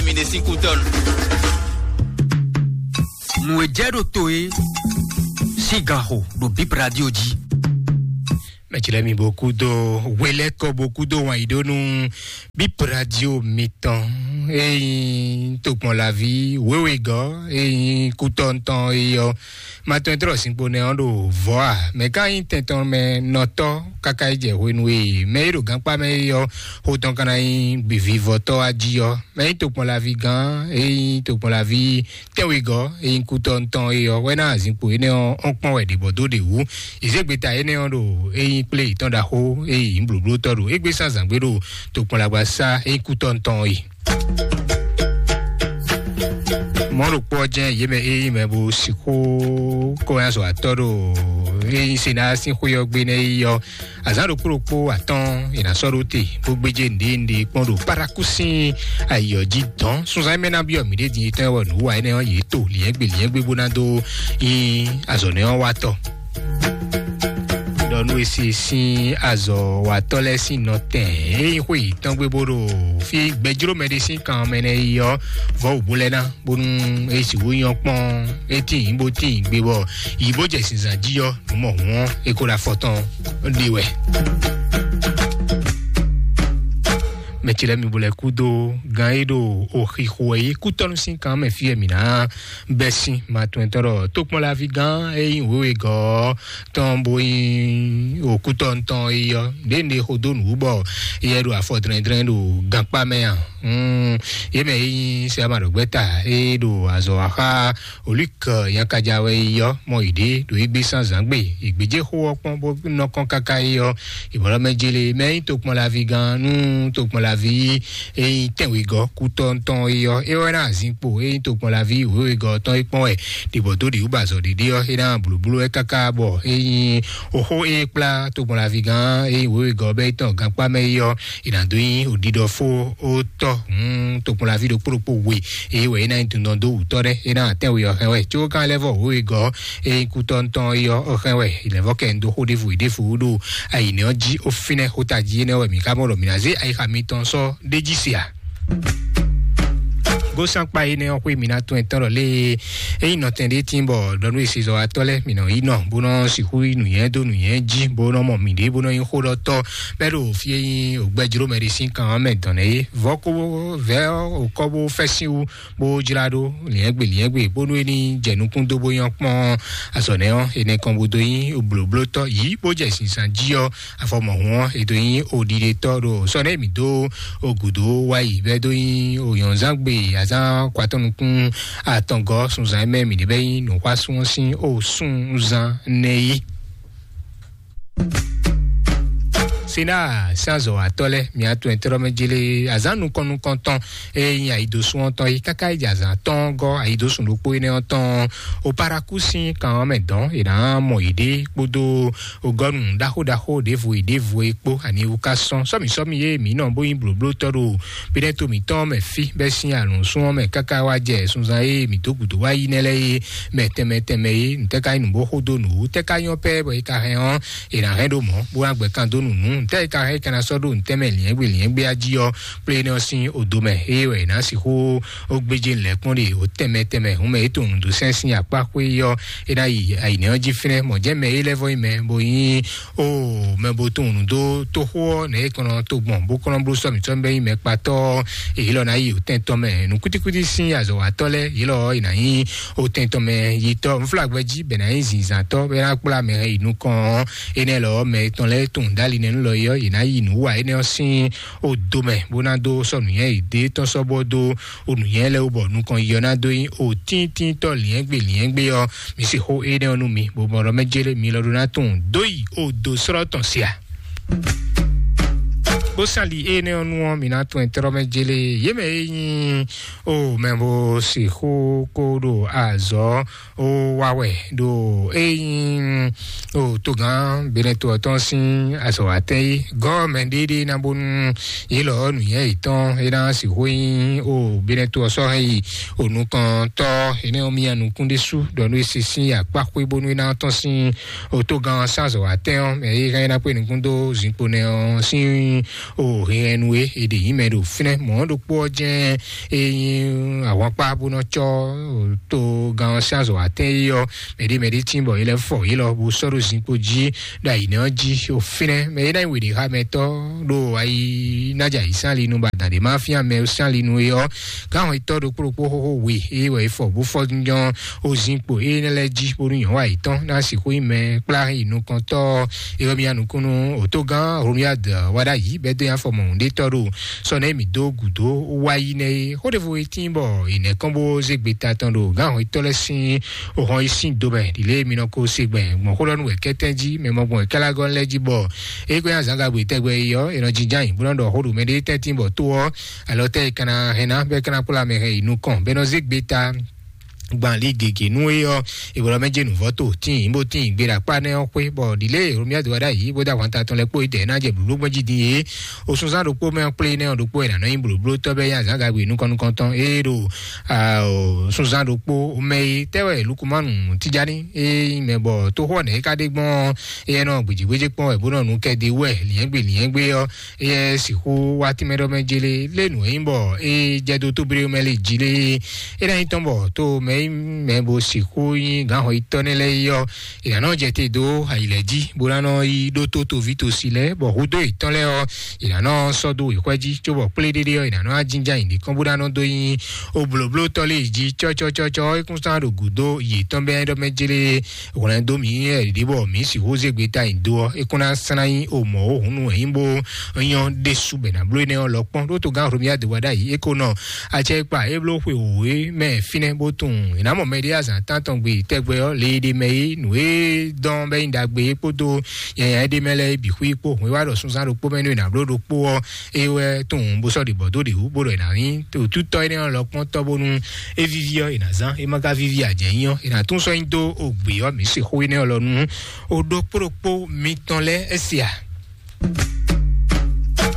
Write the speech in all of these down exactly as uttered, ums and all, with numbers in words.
Mi ɖe sín kútɔ́nu. Nǔ e jɛ ɖo to e sín gan xo ɖo Bip Radio jí. Mɛtsilɛ mi bó kú dó hwelɛ́kɔ bó kú dó wǎn yí ɖó nú Bip Radio mitɔn. Ényí tokpɔnlaví wěwegɔ́ ényí kútɔ́ntɔn é yɔ. Ma tɔn e tlɔ sinkpo nɛ ɔ́ ɖo vɔ̌ a? Mɛ̌ ka nyí tɛn tɔn mɛ nɔtɔ́ káká yi jɛ hwenu e mɛ e ɖo gankpá mɛ é yɔ xó tɔn ka ná nyí vivɔtɔ́ wá jí ɔ́? Mɛ e nyí tokpɔnlaví gán e nyí tokpɔnlaví tɛ́nwegɔ́ e nyí kútɔ́ ntɔn é ɔ́ wɛ ná azinkpo énɛ́ ɔ́ ɔ́n kpɔ́n wɛ ɖě bɔ dó ɖě wú. Ìzégbeta énɛ́ ɔ́ ɖo é nyí kplé yětɔn ɖaxó e nyí blǒblótɔ́ ɖo égbé sán zǎngbé ɖo tokpɔnlagbasá e nyí kútɔ́ ntɔn é. Mɔ̌ ɖokpó ɔ́ jɛ́n yě mɛ e nyí mɛ bó sixú kó nyi azɔ̌watɔ́ ɖo e nyí Senáa sín xwé ɔ́ gbe nɛ́ é yí ɔ́, azǎn ɖokpó ɖokpó atɔ́ɔ́n è nǎ sɔ́ ɖó te bó gbéjé nǔɖé nǔɖé kpɔ́n ɖo Parakúsin ayǐ ɔ́ jí dɔ̌n. Sunzán e mɛ ná byɔ́ mǐɖée din e tɔn wɛ nǔ wa énɛ́ ɔ́, yě to lǐnyɛ́gbe lǐnyɛ́gbe bó ná dó nyí azɔ̌ nɛ́ ɔ́ wá tɔ. Ɖɔ nú e se sín azɔ̌watɔ́ lɛ́ɛ sín nɔtɛn e nyí xwé yětɔn gbé bó ɖo fí gbɛjló mɛ ɖé sín kan mɛ nɛ́ yi ɔ́, vɔ̌ wǔ bó lɛ́ ná, bónú é sixú nyɔ́ kpɔ́n, é tíin bó tíin gbé bɔ yǐ bó jɛ zǐnzán jí ɔ́, nǔ mɔ hǔn ɔ́, é ko ɖo afɔ tɔn ɖe wɛ. Mɛ ce lɛ́ɛ mi bo lɛ́ kú dó gán e ɖo oxixo wɛ é kútɔ́nú sín kan mɛ fí wɛ mǐ ná bɛ́ sín ma tɔn tɔn ɖɔ tókpɔ́nlaví gán e nyí wěwegɔ́ tɔn bó nyí òkútɔ́ tɔn é ɔ́, ɖě un ɖe xo dó nǔ wú bɔ éyɛ́ ɖo afɔ dlɛ́ndlɛ́n ɖo gankpá mɛ a? Hmm, yě mɛ e nyí sɛ ama ɖo gbɛ́ta e ɖo azɔ̌ wa xá Olík Nyakaja wɛ yi ɔ́, mɔ yě ɖě ɖo égbé sán zǎngbe. Yě gbéjé xó ɔ́ kpɔ́n bó nɔ kɔn káká yi ɔ́, yě bɔlɔ́ mɛ jélé mɛ nyí tokpɔnlaví gán nú tokpɔnlaví e nyí tɛ́nwegɔ́ kútɔ́ tɔn yi ɔ́, é wɛ ná azinkpo e nyí tokpɔnlaví wěwegɔ́ tɔn é kpɔ́n wɛ ɖibɔ dó ɖi wú ba azɔ̌ ɖiɖi ɔ́, é ná blǒbló wɛ káká bɔ é nyí oxó e kplá tokpɔnlaví gán e nyí wěwegɔ́ bɛ́ é tɔn gankpá mɛ yi ɔ́, è nǎ dó nyí òɖiɖɔfó ó tɔ́. Hmm, tokpɔnlaví ɖokpó ɖokpó we, eye wɛ é ná nyí dundɔn dó wǔtɔ́ ɖɛ́, é ná tɛ́nwe ɔ́ hɛn wɛ. Có kan lɛ́ vɔ wěwegɔ́ e nyí kútɔ́ntɔn é ɔ́ hɛn wɛ. Lɛ̌vɔ́ kɛ un dó xó ɖěvo ɖěvo ɖo ayǐnɛ ɔ́ jí ó fínɛ́ xóta jí énɛ́ wɛ mǐ ka mɔ ɖɔ mǐ ná zé ayixa mitɔn sɔ́ ɖé jí se a? Gósán kpa énɛ́ ɔ́ xwé mǐ ná tɔn ɛtɔ́ ɖɔ lée é nyí nɔtɛn ɖé tín bɔ ɖɔ nú esezɔ́watɔ́ lɛ́ɛ mǐ nɔ yi nɔ bó nɔ sixú yi nǔnyɛ dó nǔnyɛ jí bó nɔ mɔ mǐɖée bó nɔ nyí xóɖɔtɔ́ bɛ́ ɖo fí e nyí ògbɛjlómɛ ɖé sín kan ɔ́ mɛ dɔn nɛ́ é. Vɔ̌ kó vɛ̌ ɔ́ òkɔ́ bó fɛ́ sín wú bó jlá ɖó lǐnyɛ́gbe lǐnyɛ́gbe bónú é ní jɛ nukún dó bó nyɔ́ kpɔ́n azɔ̌ nɛ́ ɔ́, énɛ́ kɔn bó dó nyí blǒblótɔ́ yǐ bó jɛ zǐnzán jí ɔ́, afɔ mɔ̌hun ɔ́, è dó nyí oɖiɖetɔ́ ɖo sɔ́ nɛ́ mǐ dó ogǔdo wá yi bɛ́ dó nyí oyɔ̌nzángbe azán kwatɔ́ nukún atɔngɔ́ sunzán mɛ mǐ ɖe bɛ́ nyí nǔxwásún ɔ́ sín osúnzán nɛ́ yí. Sena sín azɔ̌watɔ́ lɛ́ɛ, mǐ atɔn e tlɔ́ mɛ jélé azǎn nukɔn nukɔntɔn e nyí ayidosún ɔ́ tɔn é káká yi jɛ azǎn tɔn gɔ́ ayidosún ɖokpó énɛ́ ɔ́ tɔn o Paraku sín kan ɔ́ mɛ dɔn è nǎ mɔ yěɖée kpódó ogɔ́nu ɖaxó ɖaxó ɖěvo e ɖěvo e kpó ani wú ká sɔ́n sɔ́mǐ sɔ́mǐ e mǐ nɔ bó nyí blǒblótɔ́ ɖo bínɛ́ to mǐtɔn mɛ fí bɛ́ sín alǔnsún ɔ́ mɛ káká wá jɛ sunzán e mǐ dó gǔdo wá yí nɛ́ lɛ́ɛ é mɛ tɛnmɛ tɛnmɛ é. Ntɛ́ ka nyí nǔ bó xó dó nǔ wú? Tɛ́ ka nyɔ́ pɛ́ bɔ é ka hɛn ɔ́, è nǎ hɛn ɖó mɔ̌ bó ná gbɛ́ kan dó nǔ nú? Ntɛ́ é ka hɛn é ka ná sɔ́ ɖó ntɛ́ mɛ lǐnyɛ́gbe lǐnyɛ́gbe á jí ɔ́, kplé énɛ́ ɔ́ sín odo mɛ? Ée wɛ è nǎ sixú ó gbéjé lɛ̌ kpɔ́n ɖe ó tɛnmɛ tɛnmɛ hǔn mɛ é to nǔɖuɖu sɛ́n sín akpá xwé ɔ́, é ná yi ayǐnɛ́ ɔ́ jí fínɛ́. Mɔ̌ jɛ́n mɛ é lɛ́ vɔ́ nyí mɛ bo nyí ó mɛ bo tunwun nǔ dó tóxó ɔ́ nɛ̌ é kɔn nɔ to gbɔn bó kɔn nɔ bló sɔ́ mǐtɔn bɛ́ nyí mɛ kpatɔ́ ɔ́, èyí lɔ ná yi òtɛ́ntɔ́ mɛ. Nǔkútíkútí sín azɔ̌watɔ́ lɛ́ɛ yě lɔ ɔ́, è nǎ nyí òtɛ́ntɔ́ mɛ yitɔ́ nflágbɛ́ jí bɛ ná nyí zǐnzǎntɔ́ bɛ ná kplá mɛ yi nukɔn ɔ́. Énɛ́ lɔ ɔ́, mɛ tɔn lɛ́ɛ tunwun dó ali nɛ́ nú lɔ é ɔ́, yě ná yi nǔ wa énɛ́ ɔ́ sín odo mɛ bó ná dó sɔ́ nǔnywɛ́ yěɖée tɔn sɔ́ bó dó o nǔnywɛ́ lɛ́ɛ wú bɔ nukɔn yi ɔ́ ná dó nyí òtíntínntɔ́ lǐnyɛ́gbe lǐnyɛ́gbe ɔ́. Mi se xó énɛ́ ɔ́ nú mi, bó mɔ ɖɔ mɛ jélé mi lɔ ɖó ná tunwun dó yi odo slɔ́ tɔn sia. Bó sán li énɛ́ ɔ́ nu ɔ́, mi ná tunwun tlɔ́ mɛ jélé yě mɛ e nyí o mɛ bo sixú kó ɖo azɔ̌ ó wá wɛ ɖo é nyí o togán Benɛto ɔ́ tɔn sín azɔ̌watɛ́n é gɔ́ mɛ ɖéɖé ná bónú yě lɔ nǔnywɛ́ yětɔn é ná sixú nyí o Benɛto ɔ́ sɔ́ hɛn yi o nukɔntɔ́ énɛ́ ɔ́ mía nukún ɖésú ɖɔ nú é se sín akpá xwé bónú é ná tɔ́n sín o togán ɔ́ sín azɔ̌watɛ́n ɔ́ mɛ é hɛn é ná kpé nukún dó zinkpo nɛ ɔ́ sín O hɛnnu e è ɖe yǐ mɛ ɖo fínɛ́ mɔ̌ ɖokpó ɔ́ jɛ́n e nyí ahwankpá bó nɔ cɔ́ to gan ɔ́ sín azɔ̌ atɛ́n é ɔ́, mɛɖé mɛɖé tín bɔ é lɛ́ fɔ yě lɔ bó sɔ́ ɖo zinkpo jí ɖo ayǐnɛ́ ɔ́ jí. O fínɛ́ mɛ é ná nyí weɖéxámɛtɔ́ ɖo ayi nájà yǐ sín ali nu bɔ adǎn ɖé má fíán mɛ sín ali nu é ɔ́, gǎn hɔn tɔ́ ɖokpó ɖokpó xóxó we é wɛ é fɔ bó fɔ nyɔ́ o zinkpo énɛ́ lɛ́ɛ jí bónú nyɔ̌nu ayǐtɔn ná sixú nyí mɛ kplá yi nukɔntɔ́. É wɛ mía nukúnnú òtógán Romuald Wadayi bɛ́ dó nyi afɔ mɔ̌hunɖétɔ́ ɖo sɔ nɛ́ mǐ dó gǔdo wá yi nɛ́ é. Xó ɖěvo e tíin bɔ è nɛ̌ kɔn bó zé gbeta tɔn ɖo gǎn hɔn tɔ́ lɛ́ɛ sín òhɔn yi sín do mɛ ɖi lě e mi nɔ ko se gbɛn gbɔn xó ɖɔ nú wɛ kɛ́tɛ́n jí mɛ mɔ gbɔn wɛ kálágɔ́ lɛ́ɛ jí bɔ é gbɛ́ azǎngagbe tɛgbɛ yi ɔ́, è nɔ jínjɔ́n ayǐ bó nɔ ɖɔ xó ɖo mɛɖé tɛ́ntin bɔ tó ɔ́ alɔ tɛ́ e kana hɛn ná bɔ é kana kplá mɛ hɛn yi nukɔn bɔ é nɔ zé gbeta gban lí gěgé nú é ɔ́, ìbɔlɔ mɛ jɛ nǔvɔ tó tíin bó tíin gbé ɖo akpá nɛ́ ɔ́ xwé bɔ ɖi lě Romuald Wadayi bó dó ahwan ta tɔn lɛ́ɛ kpó idɛɛ ná jɛ blǒbló gbɔn jí din é. Osunzán ɖokpó mɛ kplé nɛ́ ɔ́ ɖokpó ɛ nǎ nɔ nyí blǒblótɔ́ bɛ́ nyí azǎngagbe nukɔn nukɔntɔn é ɖo sunzán ɖokpó mɛ é tɛ́ wɛ Lukumanu Tijani é nyí mɛ bɔ tóxó ɔ́ nɛ̌ é ka ɖe gbɔn é nɔ gbějégbéjé kpɔ́n wɛ bó nɔ nǔ kɛ ɖe wɛ liɛ́ngbé liɛ́ngbé ɔ́, éyɛ́ sixú wá tínmɛ ɖɔ mɛ jélé lé nǔ e nyí bɔ é jɛ dó tóbréwú mɛ lé jí lé. É ná nyí tɔn bɔ tó mɛ nyí mɛ bo sixú nyí gǎnxɔ yitɔ́ nɛ́ lɛ́ɛ yi ɔ́, è nǎ nɔ jɛ te dó ayǐ lɛ́ɛ jí bó ná nɔ yi ɖótó toví tosi lɛ́ɛ bɔ hudó yětɔn lɛ́ɛ ɔ́, è nǎ nɔ sɔ́ dó wěxwɛ́ jí cóbɔ kplé ɖéɖé ɔ́, è nǎ nɔ ajínjá nyǐɖé kɔn bó ná nɔ dó nyí oblǒblótɔ́ lé jí cɔ́cɔ́cɔ́cɔ́ é kún sán ɖo gǔdo yětɔn bɛ́ ɖɔ mɛ jélé. Hwlɛ̌n dó mǐ wɛ ɖě bɔ mǐ sixú zé gbeta nyi do ɔ́, é kún ná slán nyí omɔ̌ ó hǔn nú wɛ nyí bó nyɔ́ ɖésú bɛ ná bló énɛ́ ɔ́ lɔ kpɔ́n ɖó togán Hlomia de wa ɖ'ayǐ é ko nɔ acɛ kpa é bló xwe wǒ é mɛ fínɛ́ bó tunwun è nǎ mɔ mɛɖé azǎn tántɔn gbe tɛgbɛ ɔ́ le ɖé mɛ é nǔ e dɔn bɛ nyí ɖagbe é kpódó nyanya é ɖé mɛ lɛ́ɛ é bǐ xwí kpó hwǐ wá ɖɔ súnzán ɖokpó mɛ nú è nǎ bló ɖokpó ɔ́ é wɛ tunwun bó sɔ́ ɖě bɔ dó ɖě wú bó ɖɔ è nǎ nyí tòtútɔ́ énɛ́ ɔ́ lɔ kpɔ́n tɔ́ bónú é víví ɔ́, è nǎ zán; é ma ka víví ǎ jɛ́n nyí ɔ́, è nǎ tún sɔ́ nyi dó ogbě ɔ́. Mǐ sixú énɛ́ ɔ́ lɔ nú o ɖokpó ɖokpó mitɔn lɛ́ɛ é se a?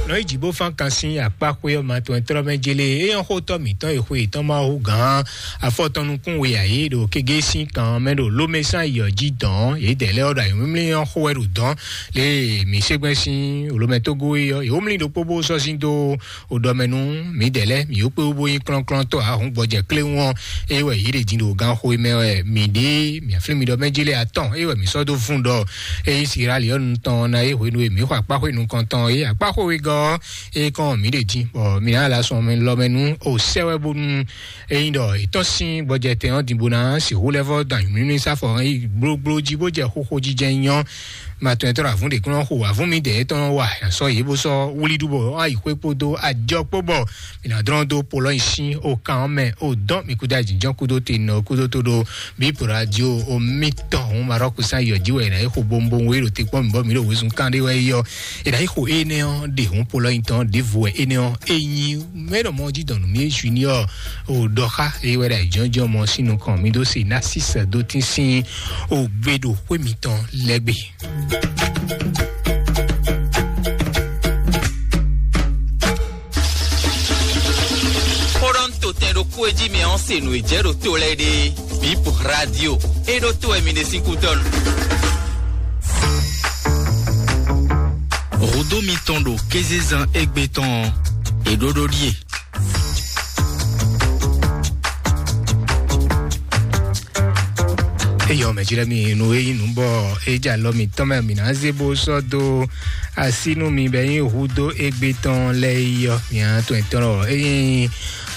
Nɔ yi jǐ bó fán kan sín akpá xwé ɔ́ ma tɔn e tlɔ́ mɛ jélé é nyɔ́ xótɔ́ mǐtɔn e xwe yětɔn ma hú gǎn afɔ tɔn nukún we ǎ é ɖo kégé sín kan ɔ́ mɛ ɖo lómɛsán yɔ jí dɔn yědɛɛ lɛ́ɛ ɔ́ ɖo ayǐmlímlí ɔ́ xó wɛ ɖo dɔn lě e mǐ ségbɛ́n sín olómɛtógó é ɔ́, yě wú mlí ɖokpó bó sɔ́ sín dó o ɖɔ mɛ nú mǐdɛɛ lɛ́ɛ mǐ yó kpé wú bó nyí klɔ́nklɔ́ntɔ́ ǎ hǔn gbɔjɛ kléwún ɔ́, é wɛ yě ɖě din ɖo ganxo e mɛ wɛ mǐ ɖe mǐ aflín mi ɖɔ mɛ jí lé atɔn é wɛ mǐ sɔ́ dó vún ɖɔ é nyí sirali ɔ́ nu tɔn ná é hwenu e mǐ xɔ akpáxwé nukɔntɔn é akpáxwé wegɔ́ ɔ́, é kɔn mǐ ɖě din bɔ mǐ ná la sɔn mɛ lɔ mɛ nú o sɛ́ wɛ bónú é nyí ɖɔ è tɔ́n sín gbɔjɛtɛn ɔ́ din bó ná sixú lɛ́ vɔ́ dɔn anyǔmlímlí sáfɔ ɔ́ yi gblogblo jí bó jɛ xóxó jijɛ nyɔ́. Ma tɔn etɔ́ ɖo avǔn ɖě kún nɔ xo avǔn mi dɛ̌ tɔn nɔ wa sɔ yě bó sɔ́ wlí ɖu bɔ wá yi xwé kpódó ajɔ kpó bɔ mǐ ná dlɔ́n dó polɔ́ nyi sín o kan ɔ́ mɛ o dɔn mǐ kúdó ajínjɔ́n kúdó te nɔ kúdó tó ɖó bí radio o mítɔn òun Marɔku sán yɔ jí wɛ è nǎ yi xo bowunbowun e ɖo te kpɔ́n mǐ bɔ mǐ ɖo wezun kán ɖé wɛ yi ɔ́, è nǎ yi xo énɛ́ ɔ́ ɖe hǔn polɔ́ nyi tɔn ɖěvo wɛ énɛ́ ɔ́ é nyí mɛ ɖɔ mɔ jí dɔn nǔ mì junior o ɖɔ xá é wɛ ɖo ayǐjínjɔ́n mɔ sín nukɔn mǐ ɖó se ná sísɛ dó tín sín o gbe ɖo xwé mǐtɔn lɛ́ gbe. Xó ɖɔ ń to tɛn ɖokpó e jí mi ɔ́ se nǔ e jɛ ɖo to lɛ́ɛ ɖe. Bip Radio e ɖo to wɛ mi ɖe sín kútɔ́ nu. Hǔdó mitɔn ɖo kézezán égbé tɔn ɔ́, è ɖó ɖó ɖíe. Eyɔ mɛ jlɛ mi nu eyi nu bɔ edza lɔ mi tɔn mɛ mi na ze bo sɔ do asi nu mi bɛ yin hu do egbe tɔn lɛ yi yɔ mi a tɔn etɔn lɔ eyin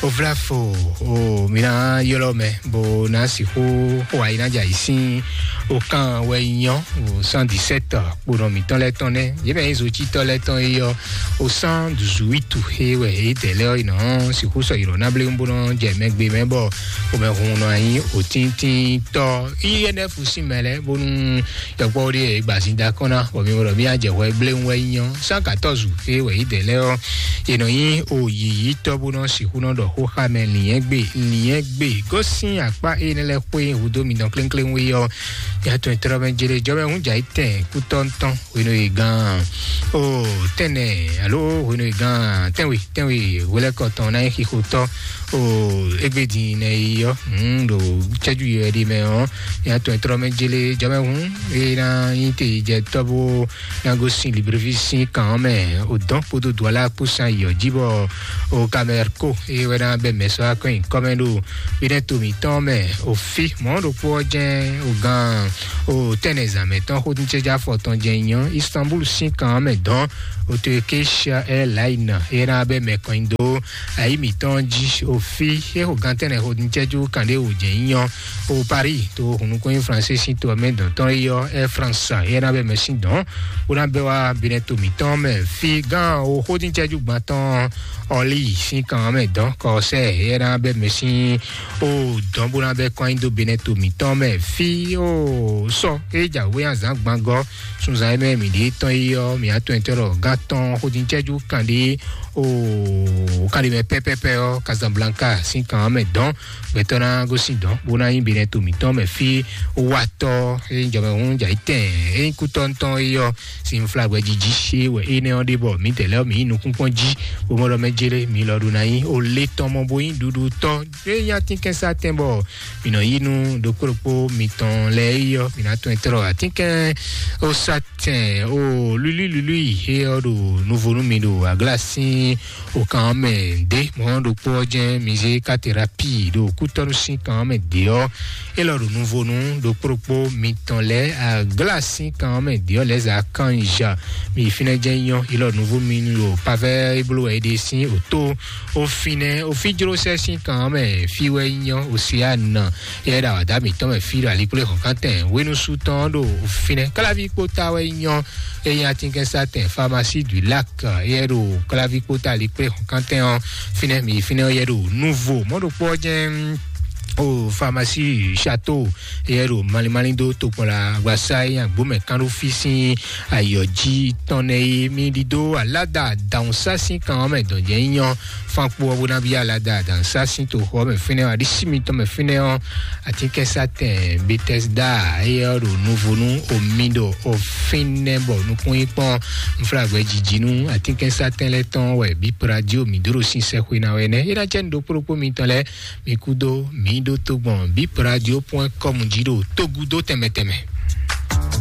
ovlafo o mi na yɔlɔ mɛ bo na siku xɔ ayi na dza yi sin o kan wɛ nyɔ o cent dix-sept kponɔ mitɔn lɛ tɔn nɛ ye mɛ yin zo tsitɔ lɛ tɔn yi yɔ o cent dix-huit he wɛ e dɛ lɛ yi nɔ siku sɔ yi lɔ na ble bo nɔ jɛ mɛgbe mɛ bɔ o mɛ hun nɔ anyi o tíntín tɔ iye nɛ fu sin mɛ lɛ bonu yɔkpɔ ɖe e gba sin da kɔn na bɔ mi wɔ mi a jɛ hwɛ ble wɛ nyɔ cent quatorze he wɛ yi dɛ lɛ ɔ ye nɔ yin o yiyi tɔ bo nɔ siku nɔ ɖɔ xo xa mɛ liɛn gbe liɛn gbe gosin akpa e ne lɛ kpe hudo mi dɔn klenklen wi ɔ ya tɔn trɔ mɛ jele jɔ mɛ hun dza yi tɛn kutɔ ntɔn hwenu yi gan o tɛnɛ alo hwenu yi gan tɛnwe tɛnwe hwelɛkɔ tɔn na yi xixo tɔ O égbé din nɛ yi ɔ́, ɖo cɛ́jú yi wɛ ɖi mɛ ɔ́, nya tɔn trɔ mɛ jele jɔmɛ hun, e na nyi te jɛ tɔ́ bó na gosín librivi sín kan ɔ́ mɛ, o dɔn kpódó duala kpó san yi ɔ́ jí bɔ o kamɛrko e wɛ na bɛ mɛ sɔ akɔn nyi kɔmɛ ɖo bí nɛ to mǐtɔn mɛ, o fi mɔ̌ ɖokpó ɔ́ jɛ́n o gan o tɛnɛ zǎn mɛ tɔn xódúncɛ́já fɔ tɔn jɛ nyɔ Istanbul sín kan ɔ́ mɛ dɔn, o to e Kesia Airline e na bɛ mɛ kɔn nyi dó ayi mǐtɔn jí, o fi e xo gantɛnɛ xo nicɛju kan ɖé wò jɛ nyɔ o Paris to hunukun français sín to mɛ dɔn tɔn yi ɔ́, Air France e na bɛ mɛ sín dɔn bó ná bɛ wá binɛ to mǐtɔn mɛ fi gán o xó nicɛju gbantɔn ɔli sín kan mɛ dɔn kɔsɛ e na bɛ mɛ sín o dɔn bó ná bɛ kɔn nyi dó binɛ to mǐtɔn mɛ fi o sɔ e jǎwe azán gbangɔ sunzan e mɛ mǐ ɖe tɔn yi ɔ́, mǐ atɔn etɔn ɖɔ gán tɔn xódíncɛ́jú kan ɖé o kan ɖé mɛ pɛ́pɛ́pɛ́ ɔ́, Casablanca sín kan ɔ́ mɛ dɔn gbɛtɔ́ ná gosín dɔn bó ná nyí binɛ to mǐtɔn mɛ fí watɔ́ e nyí jɔmɛhún jǎ yi tɛn e nyí kútɔ́ntɔn é ɔ́, sin flagbɛ jiji é wɛ énɛ́ ɔ́ ɖe bɔ mǐdɛɛ lɛ́ɛ mǐ nyí nukúnkpɔ́n jí bó mɔ ɖɔ mɛ jélé mi lɔ ɖo ná nyí o lé tɔn mɔ bó nyí ɖuɖu tɔn é nyí atínkɛnsá tɛn bɔ mǐ nɔ yí nú ɖokpó ɖokpó mitɔn lɛ́ɛ yi ɔ́, mǐ ná tɔn tlɔ atínkɛn ó sá tɛn ó lúlí lúlí he ɔ́ ɖo nuvo nú mi ɖo agla sín okan ɔ́ mɛ ɖé. Mɔ̌ ɖokpó ɔ́ jɛ́n mi zé katerapi ɖo kútɔ́nú sín kan ɔ́ mɛ ɖě ɔ́, é lɔ ɖo nuvo nú ɖokpó ɖokpó mitɔn lɛ́ɛ agla sín kan ɔ́ mɛ ɖě ɔ́ lɛ̌ zǎ kan ja mi fínɛ́ jɛ́n nyɔ́, é lɔ nuvo mi ɖo pavɛ́ é bló wɛ é ɖe sín òtó. Ofinɛ ofijlosɛ sín kan ɔ́ mɛ fí wɛ nyɔ Osiana, yɛ ɖo awǎdá mǐtɔn mɛ fí ɖo alikplé hɔnkantɛn hwenusu tɔn ɖo ofinɛ. Káláví kpóta wɛ nyɔ eye atínkɛnsátɛn Pharmacie du Lac, yɛ ɖo káláví kpóta alikplé hɔnkantɛn ɔ́ fínɛ mi fínɛ yɛ ɖo nuvo mɔɖokpɔ jɛn o Pharmacie Château, yɛ ɖo malimali dó tokpɔn la agbasa e agbómɛ kan ɖo fí sín ayɔ jí tɔn nɛ yi mi ɖi dó alada dawun sá sín kan ɔ́ mɛ dɔn jɛ nyɔ fan kpo ɔ́ bó ná bí alada dawun sá sín toxo ɔ́ mɛ fínɛ́ ɔ́ aɖísí mitɔn mɛ fínɛ́ ɔ́ atínkɛsátɛn Bethesda, eyɛ ɔ́ ɖo nuvo nú omi ɖo ofínɛ́ bɔ nukún yi kpɔ́n nflágbɛ jiji nú atínkɛsátɛn lɛ́ɛ tɔn wɛ bí pradio mi dó ɖo sín sɛxwe ná wɛ nɛ́ é ná cɛ nu ɖokpó ɖokpó mitɔn lɛ́ɛ mi kú dó mi ɖó tó gbɔn bí pradio point com jí ɖo tógúdó tɛnmɛ tɛnmɛ.